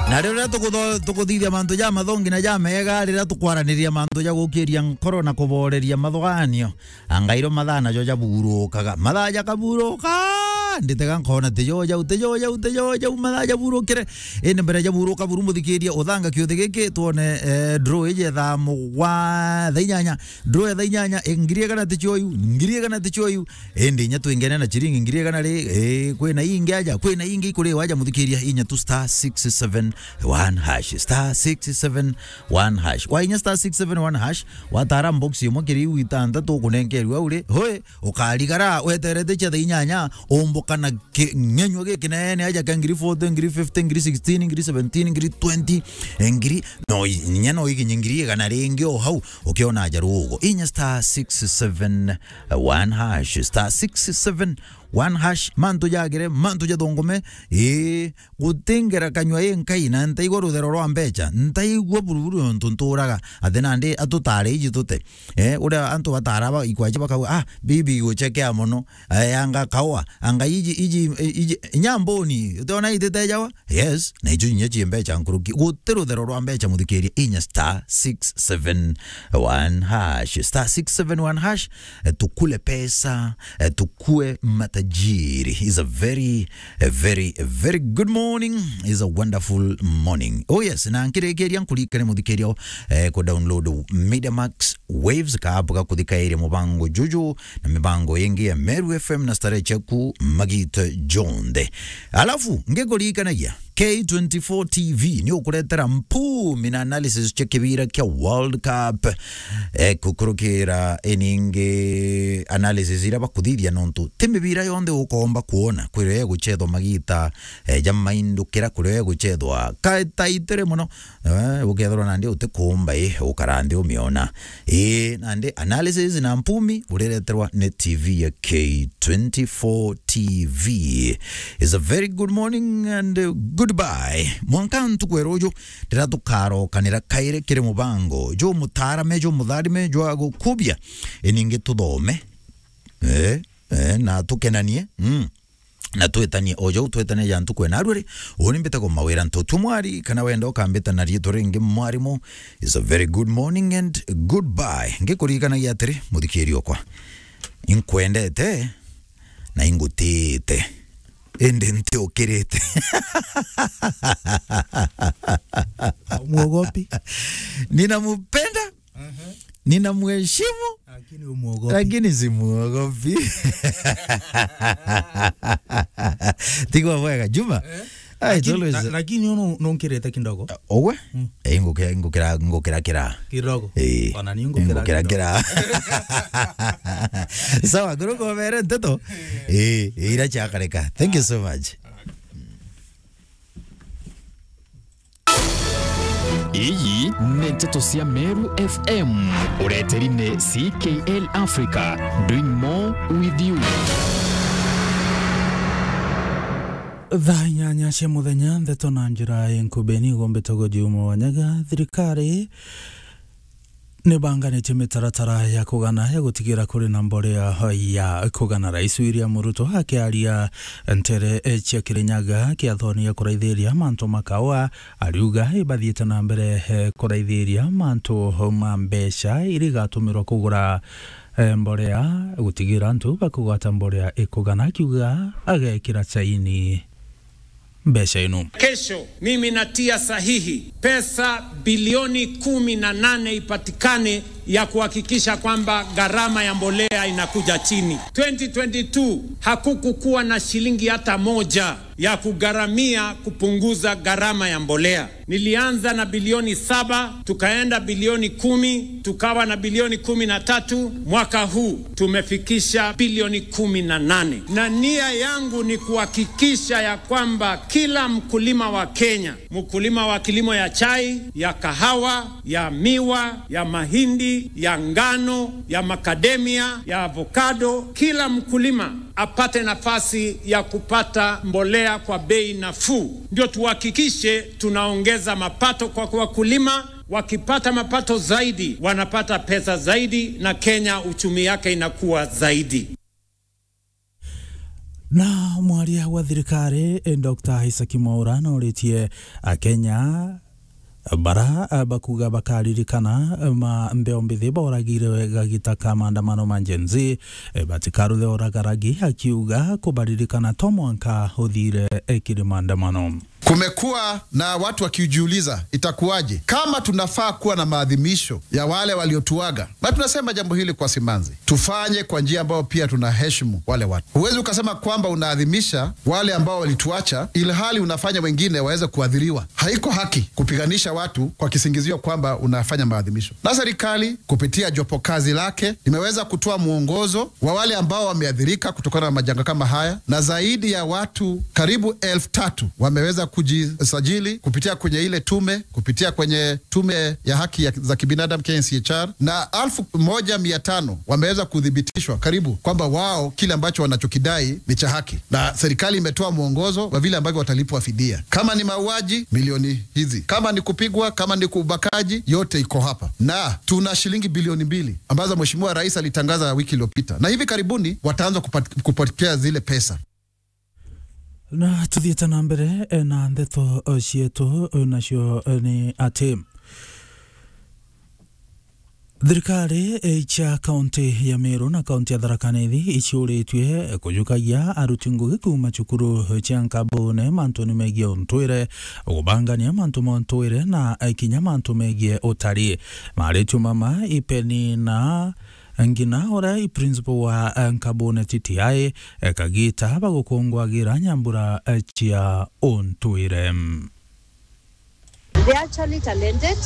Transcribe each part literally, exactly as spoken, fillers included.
Na riria tukutho-, tukuthithia mantu ja mathongi na ja mega, riria tukwaraniria mantu ja gukiria nkoro na kuboreria mathuganio, angairo mathaa najo jaburukaga. Mathaa jakaburuka, nditega nkona tijo jau, tijo jau, tijo jau, mathaa jaburukire. Indi mbere jaburuka buru, muthikiria, uthanga kiuthi giki, twone, eh, draw iji thaa mugwa-, thaa inyanya. Draw ya thaa inyanya, eh, ngiri igana ticio iu, ngiri igana ticio iu. Indi inya twingene na chiringi ngiri igana ri, eh, kwina ingi aja, kwina ingi ikuriwa aja, muthikiria, inya tu star six seven one hash, star six seven one hash. Wainya star six seven one hash, watara box imwe kiri iu itantatu ukunenkerua uri, hoi, ukarigara weterete cia thaa inyanya, umbuka na ki-, ng'enyua gikinene aja kia ngiri forty, ngiri fifty, ngiri sixteen, ngiri seventeen, ngiri twenty, eh, ngiri, no i-, inya no ikinye ngiri igana ringi o hau, ukiona aja rugo. Inya star six seven one hash, star six seven one hash, mantu jagire, mantu jathungume, ii, gutingera kanyua i nkai, na ntaigua ruthero rwa mbecha, ntaigua buruburu nontu nturaga, athi nandi atutare iji tute. Eh, uria antu batara ba, ikwaji bakauga, "Ah, bibi iguchekea mono, eh, anga kaua, anga iji, iji, iji, inya mboni, utiona ititejawa?" Yes, na icio inya cie mbecha nkuruki. Guti ruthero rwa mbecha, muthikiria, inya star six seven one hash, star six seven one hash, eh, tukule pesa, eh, tukue matajiri. Is a very, a very, a very good morning. Is a wonderful morning. Oh yes, na nkirikiria nkurikane muthikiria, eh, ku download Media Max Waves, ka app ga kuthikairia mubango juju na mibango ingi ya Meru F M na starehe ciaku magita jonthe. Alafu, ngikurikanagia, K twenty-four T V ni ukuretera mpumi na analysis cia kibira kia World Cup. Eh, kukurukira iningi analysis iria bakuthithia, nontu ti mibira yonthe ukomba kuona kwirio iguchethwa magita, eh, jamaindukira kwirio iguchethwa. Ka taitire mono, eh, ukethirwa nandi utikuumba, ii, ukara nthi umiona. Ii, nandi analysis na mpumi urireterwa ni T V ya K twenty-four T V. Is a very good morning and, uh, goodbye. Mwanka ntuku ya ruju, riria tukarokanira kairi kiri mubango jumutaarame, jumutharime, jwa gukubia, iningi tuthome, eh, eh, na tukenanie. Mm. Na twitanie o jau twitanie ja ntuku ena rwiri, uni mbitagwo Mawira Ntutu Mwari, kana wenda ukambita na riitwa ringi mwarimu. Is a very good morning and goodbye. Ngikurikanagia atiri, muthikiri okwa, inkwendete na ingutite, indi ntiukirite. Mwogopi? Ninamupenda. Aha. Ninamheshimu, lakini umuogopi. Lakini simuogopi. Tigwa bwega, Juma. Eh? Ai, lakini, always la-, lakini unu nunkirite kidogo. Owe? Mm. Eh, ngukira, ngukira, ngukira kira. Kidogo. Eh. Ona ni ngukira, ngukira kidogo. Kira. Sawa, guruko mere nteto. Eh, eh, ira chakareka. Thank you so much. Iyi ni nteto cia Meru F M, ureteri ni C K L Africa, doing more with you. Thaa inyanya cia muthenya, nteto na njira inkubi ni igumbite gujiuma wanyaga. Thirikari nibanganitie mitaratara ya kugana ya gutigira kuri na mborea ya kugana. Rais William Ruto akiaria ntere cia Kirinyaga kiathoni ya kuraithiria mantu ma kaua, ariuga ibathiite na mbere, eh, kuraithiria mantu ma mbeca iria igatumirwa kugura, eh, mborea, gutigira antu bakugwata mborea ikugana, akiuga agekira saini mbeca ino. Kesho, mimi natia sahihi pesa bilioni kumi na nane ipatikane ya kuhakikisha kwamba gharama ya mbolea inakuja chini. Twenty twenty-two hakukukuwa na shilingi hata moja ya kugharamia kupunguza gharama ya mbolea. Nilianza na bilioni saba, tukaenda bilioni kumi, tukawa na bilioni kumi na tatu. Mwaka huu tumefikisha bilioni kumi na nane. Na nia yangu ni kuhakikisha ya kwamba kila mkulima wa Kenya, mkulima wa kilimo ya chai, ya kahawa, ya miwa, ya mahindi, ya ngano, ya macadamia, ya avocado, kila mkulima apate nafasi ya kupata mbolea kwa bei nafuu. Ndio tuhakikishe tunaongeza mapato kwa wakulima. Wakipata mapato zaidi, wanapata pesa zaidi, na Kenya uchumi yake inakuwa zaidi. Na mwaria wa thirikari, eh, Doctor Isaac Mwaura, nauritie Akenya bara, eh, bakuga bakaririkana, eh, ma mbeo mbithi bauragire gagita ka maandamano ma Gen Z, eh, batikaruthe uragaragi, akiuga kubaririkana to mwanka uthire, eh, kiri maandamano. Kumekuwa na watu wakijiuliza, itakuwaje kama tunafaa kuwa na maadhimisho ya wale waliotuaga? Na tunasema jambo hili kwa simanzi, tufanye kwa njia ambayo pia tunaheshimu wale watu. Huwezi ukasema kwamba unaadhimisha wale ambao walituacha, ilhali unafanya wengine waweze kuadhiriwa. Haiko haki kupiganisha watu kwa kisingizio kwamba unafanya maadhimisho. Na serikali kupitia jopo kazi lake limeweza kutoa mwongozo wa wale ambao wameathirika kutokana na majanga kama haya, na zaidi ya watu karibu elfu tatu wameweza kujisajili kupitia kwenye ile tume, kupitia kwenye tume ya haki ya, za kibinadamu, K N C H R, na elfu moja mia tano wameweza kuthibitishwa karibu kwamba wao kile ambacho wanachokidai ni cha haki, na serikali imetoa mwongozo wa vile ambavyo watalipwa fidia. Kama ni mauaji, milioni hizi; kama ni kupigwa, kama ni ubakaji, yote iko hapa, na tuna shilingi bilioni mbili ambazo Mheshimiwa Rais alitangaza wiki iliyopita, na hivi karibuni wataanza kupat-, kupokea zile pesa. Na tuthiite na mbere, eh, na ndeto, eh, cietu, eh, nacio, eh, ni ati thirikari, eh, cia kaunti ya Meru na kaunti ya Tharaka Nithi iciuritue, eh, kujukagia aruti ngugi kuuma cukuru, eh, cia nkabune mantuni megie untwire, kubangania mantu ma untwire na, eh, kinya mantu megie utari. Maritio mama ipenina ngina uria i principal wa, eh, nkabune T T I, eh, kagita bagukungwagira nyambura, eh, cia untwire. They are actually talented,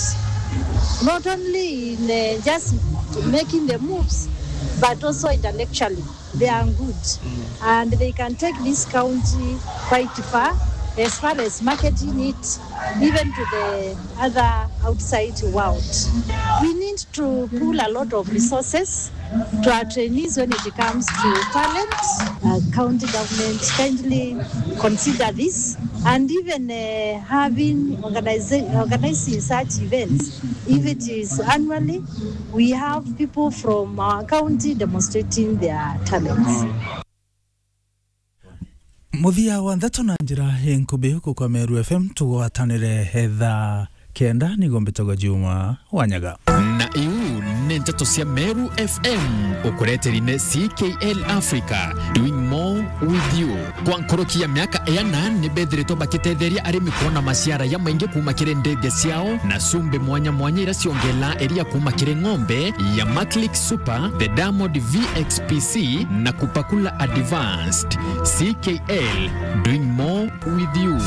not only in, uh, just making the moves, but also intellectually. They are good. And they can take this county quite far, as far as marketing it, even to the other outside world. We need to pool a lot of resources to our trainees when it comes to talent. Uh, county government kindly consider this, and even, uh, having organiza-, organizing such events, if it is annually, we have people from our county demonstrating their talents. Muthia wa ndeto na njira inkubi guku kwa Meru F M, tugwatanire thaa kenda, nigo mbitagwa Juma Wanyaga. Na iu ni nteto cia Meru F M, ukureteri ni C K L Africa, doing more with you. Kwa nkuruki ya miaka iana, ni bethiritwe bakitetheria arimi kuona maciara jamaingi kuuma kiri ndithia ciao, na cumbi mwanya mwanya iria ciongela iria kuuma kiri ng'ombe ya Maclick Super, the Diamond V X P C, na Kupakula Advanced. C K L, doing more with you.